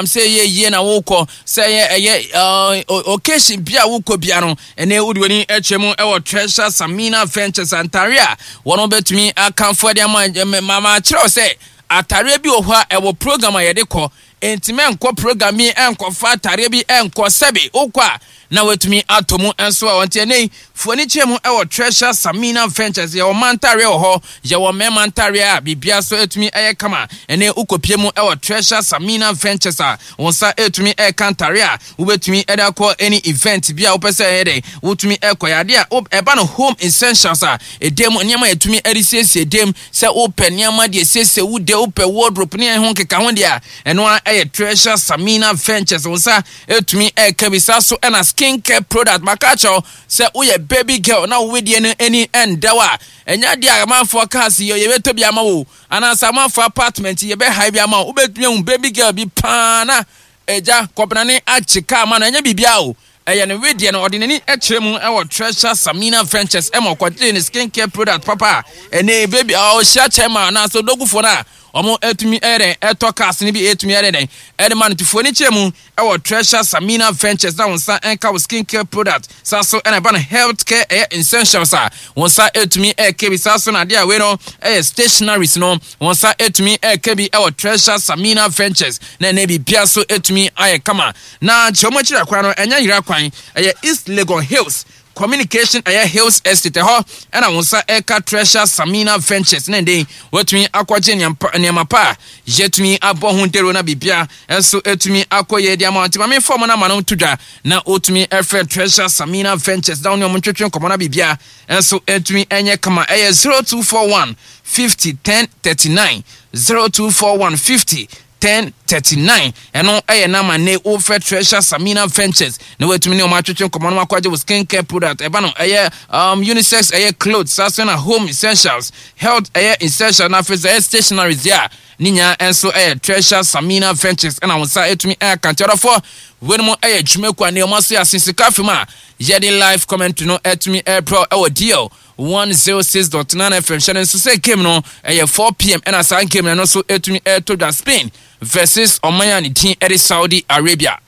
Sɛ ɛyɛ yie na wokɔ, sɛ ɛyɛ ɛyɛ occasion bi a wokɔ bia no, ɛnɛ wode w'ani kyerɛ mu ɛwɔ Treasure Samina Ventures antare a wɔn bɛtumi akamfo de ama ma kyerɛw sɛ atareɛ bi wɔ hɔ a ɛwɔ program a yɛde kɔ. Enti mɛnkɔ program bi ɛnkɔfa atareɛ bi ɛnkɔ, sɛbe wokɔ a na watumi atɔ mu nso a ɔnte. Ɛnɛ yi, fo ani kyerɛ mu ɛwɔ Treasure Samina Ventures. Yɛwɔ mmaa ntareɛ wɔ hɔ, yɛwɔ mmarima ntareɛ a biribiara so atumi ɛyɛ kama. Ɛnɛ wokɔpie mu ɛwɔ Treasure Samina Ventures a, wo nsa ɛtumi ɛka ntareɛ a wobɛtumi ɛde akɔ any event bi a wopɛ sɛ ɛyɛ dɛ wotumi ɛkɔ. Yɛ adeɛ a ɛba no home essentials a, ɛdɛm mu nneɛma a yɛtumi ɛde siesie dɛm, sɛ wopɛ nneɛma deɛ siesie wo de, wopɛ wardrobe ne ɛho nkeka ho deɛ a, ɛno ara ɛyɛ Treasure Samina Ventures. Wo nsa ɛtumi ɛka bi. Saa so ɛna skin care product. Maka akyerɛw sɛ woyɛ baby girl na wo wedeɛ no ani ɛndaw a, ɛnyɛ adeɛ a amanfoɔ kaa se yɛbɛtɔ bi ama wo, anaasɛ amanfoɔ apartment yɛbɛhae bi ama wo. Wobɛtumi ahu baby girl bi paa na agya kɔbenane agye kaa ma no, ɛnyɛ biribiara o, ɛyɛ ne wedeɛ no. Ɔde n'ani kyerɛ mu ɛwɔ Treasure Samina Ventures ɛma ɔkɔgyee ne skin care product papa a ɛne baby a ɔhyia kyɛn ma anaasɛ odogufoɔ no a wɔn atumi ɛyɛ dɛn ɛtɔ cars no bi ɛtumi ɛyɛ dɛn ɛde ma no. Tufuo ne kyerɛ mu ɛwɔ Treasure Samina Ventures na wɔn nsa ɛnka wɔ skin care product. Saa so ɛna ɛba no health care ɛyɛ essentials a, wɔn nsa ɛtumi ɛka bi. Saa so na adeɛ a wei no ɛyɛ stationaries no, wɔn nsa ɛtumi ɛka bi ɛwɔ Treasure Samina Ventures na ɛnɛ biribiara so ɛtumi ayɛ kama. Na kyerɛ wɔn akyiri akwan no, ɛnyɛ yera kwan, ɛyɛ East Legon Hills Communication ɛyɛ Hills Estate, ɛhɔ ɛna wɔn nsa ɛka Treasure Samina Ventures na ɛnde wɔatumi akɔgye nneɛma pa a yɛtumi abɔ ho dawuro na biribia nso ɛtumi akɔ yie de ama wɔn. Nti maame fɔm no ama no to dwa na wɔtumi ɛfrɛ Treasure Samina Ventures na wɔne wɔn ntwetwe nkɔmmɔ na biribia nso ɛtumi ɛnyɛ kama. Ɛyɛ 0241 50 10 39, 0241 50 10 39. Ɛno ɛyɛ nama ne wofrɛ Treasure Samina Ventures na watumi ne wɔn atwetwe nkɔmmɔ no akɔgye wo skin care product. Ɛba no ɛyɛ unisex, ɛyɛ clothes, saa so na home essentials, health ɛyɛ essential, na afei sɛ ɛyɛ stationaries deɛ a, ne nyinaa nso ɛyɛ Treasure Samina Ventures ɛna wɔn nsa ɛtumi ɛka. Nti ɔdɔfoɔ, weinom ɛyɛ dwumakuo a ne wɔn aso yɛ asen sika fam a yɛde live commentary no ɛtumi ɛrebrɛ ɛwɔ DL 106.9 FM. Hyɛ no nso sɛ game no ɛyɛ 4 p.m. ɛna saa game no nso ɛtumi ɛtɔ dwa, Spain versus ɔman a ne din ɛde Saudi Arabia.